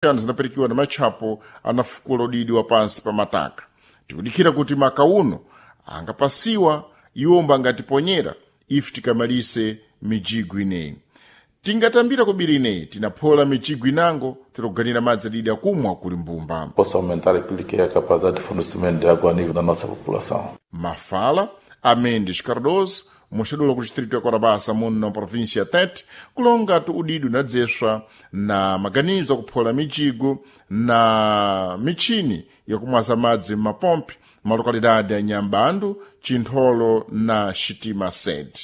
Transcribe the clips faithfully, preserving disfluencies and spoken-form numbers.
Mashanu zinapirikiwa na matchapo anafukula udidi wa pansi pa mataka. Tikudikira kuti maka uno angapasiwa iwomba angatiponyera ife tikamalise mijigo ineyi. Tingatambira kubiri ineyi tinaphola mijigo inango tiloganira madzi adidi akumwa kuli mbumba. Possa aumentar aquilo que é a capacidade de fornecimento de água a nível da nossa população. Mafala a Mendes Cardoso, moxadula ku distrito ya Korabasa muno na província ya Tete, kulonga tu udidu unadzeswa na maganizo akuphola mijigo na michini yakumwaza madzi m'mapompi malokalidade ya Nyambandu, Chintholo na Xitima Sede.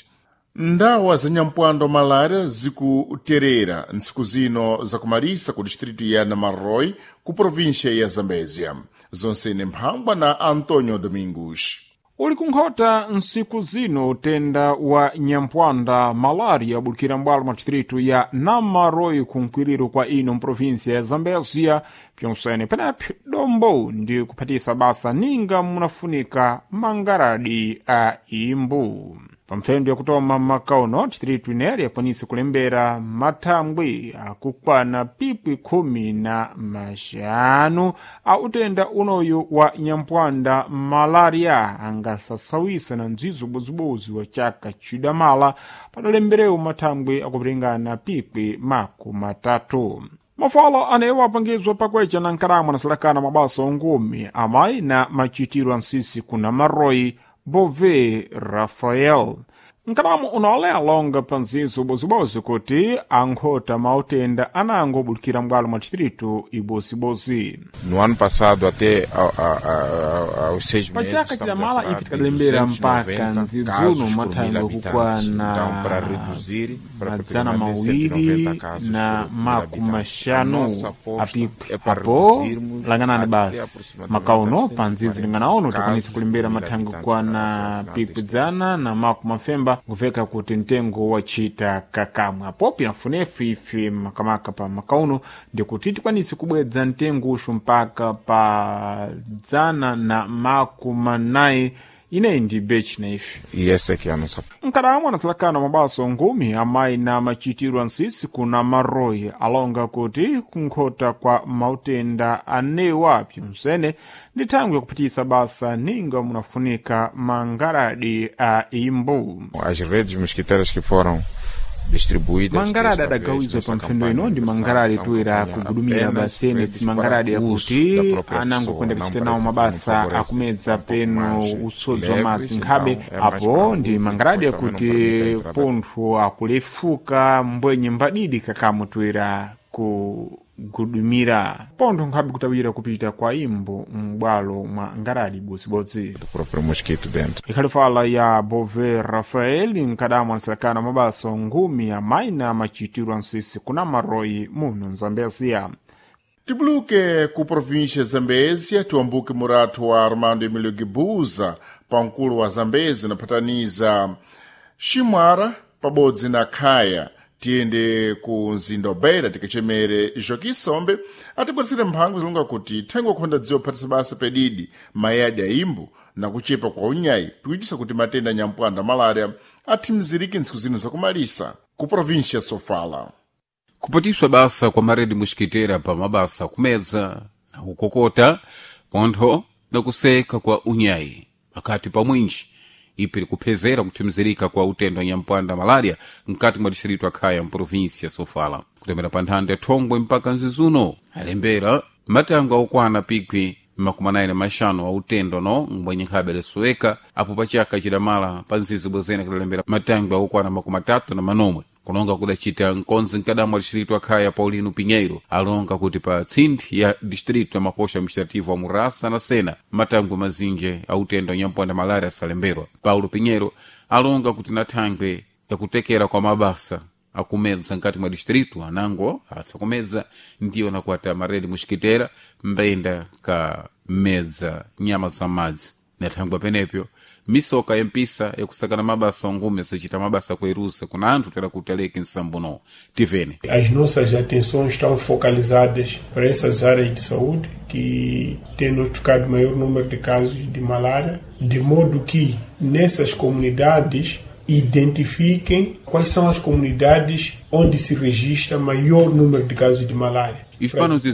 Ndawa za nyampwando malária zikuterera ntsiku zino zakumalisa ku distrito ya Namarrói ku província ya Zambézia. Zonsene mphangwa na Antonio Domingos. Uli kunkhota ntsiku zino utenda wa nyampwanda malaria abulikira m'bwalo mwa distritu ya Namaroi kunkwiriro kwa ino mprovinsia ya Zambézia pyonsene penepo dombo ndi kuphatisa basa ninga munafunika mangaradi a imbu. Pamphendo yakutoma makauno distritu ineri yakwanisa kulembera mathangwi akukwana pikwi khumi na maxanu a utenda unoyu wa nyampwanda malaria angasasawisa na ndzizo ubozibozi wa chaka chidamala padalemberewo mathangwi akupiringana pikwi makumi matatu. Mafala anewo apangizwa pakwecha na nkalamwa na salakana mabasa ongumi amayi na machitiro ansisi kuna Maroi Bove Rafael. Nkalamu unole alonga panzizo ubozibozi kuti ankhota mautenda anango obulikira m'bwalo mwa distritu ibozibozzi. No ano passado, até a- a- a- aos seis meses, Pachaka estamos a chidamala falar ife de tikadalembera duzentos e mpaka noventa casos ndzidzuno por mil mathangwe habitantes. kukwana Então, para reduzir para madzana praticamente cento e mawiri noventa casos na por mil makumi habitantes. A maxanu nossa aposta apipwi é para apo reduzirmos langanani até basi aproximadamente makauno a pa nzizi cento e quarenta linganaono tikwanisa casos kulembera por mil mathangwe habitantes kukwana para o final pikwi deste ano. dzana na makumi mafemba kuveka kuti mtengo wachita kakamwe apo pinafunefu ife makamaka pa makauno ndikuti tikwanise kubwedza mtengo uxu mpaka pa dzana na makumi anayi ineyi ndi bechi na ife. E essa é que é a nossa Nkadamwa anasalakana mabaso ngumi amayi na machitiro ansisi kuna Maroi alonga kuti kunkhota kwa mautenda anewa pyonsene ndi thangwi yakuphatisa basa ninga munafunika mangaradi a imbu. As redes mosquiteiras que foram distribuídas Mangaradi desta vez adagawizwa nesta pa mphendo campanha ino ndi universal mangaradi são toera campanha kugudumira apenas basene redes si mangaradi para uso yakuti da própria anangokwenda pessoa, não kuchita parece nawo que não mabasa favorece akumedza um pouco peno mais usodzi wa leves, madzi nkhabe. então é mais Apo para ndi adultos, mangaradi depois também não yakuti permite a entrada pontho akulefuka mbwenye mbadidi kakamu toera kugudumira pontho nkhabe kutawira kupita kwa imbo m'bwalo mwa ngaradi bodzibodzi. Do próprio mosquito dentro. Ikhalifala ya Bove Rafael nkadamwa nsalakana mabasa ngumi amayi na machitiro ansisi kuna Maroi muno Nzambezia. Tibuluke ku província ya Zambézia, tiwambuke muratu wa Armando Emílio Guebuza, pamkulu wa Zambézia unaphataniza Ximwara pabodzi na Khaya. Tiyende ku mzinda wa Beira tikachemere Joaquim Sombe atibwezere mphango zilonga kuti thengo khonda dziwo phatisa basa pedidi mayadi a imbu na kuchepa kwa unyayi pikuchisa kuti matenda a nyampwanda malaria athimizirike ntsiku zino zakumalisa ku província ya Sofala. Kupatiswa basa kwa maredi mosquiteira pa mabasa akumedza na kukokota pontho na kuseka kwa unyayi pakati pa mwinji ipi kuphezera kuthimizirika kwa utendo wa nyampwanda malaria mkati mwa distrito akhaya mprovinsia Sofala kutemera pa nthanda ya Thongwe mpaka nzizuno alembera matango akukwana pikwi makumi anayi na maxanu a utendo no mbwenye nkhabe lisuweka apo pachaka chidamala pa nzizi bwezene kudalembera matangwe akukwana makumi atatu na manomwe kulonga kudacita nkonzi mkadamwa distrito akhaya Paulino Pinheiro alonga kuti pa tsindi ya distrito ya mapoxa administrativo wa Murasa na Sena matangwe mazinji a utendo nyampwanda malaria asalemberwa. Paulo Pinheiro alonga kuti na thangwe yakutekera kwa mabasa akumedza nkati mwa distrito anango asakumedza ndiyo nakuata maredi mosquiteira mbenda ka medza nyama za madzi nathangwa penepyo misoka yempisa yakusakana mabasa ongume asacita mabasa kuerusa kuna anthu tera kuti aleke nsambuno tivene. As nossas atenções estão focalizadas para essas áreas de saúde que têm notificado maior número de casos de malária, de modo que nessas comunidades identifiquem quais são as comunidades onde se registra maior número de casos de malária. Hispano Zizuno.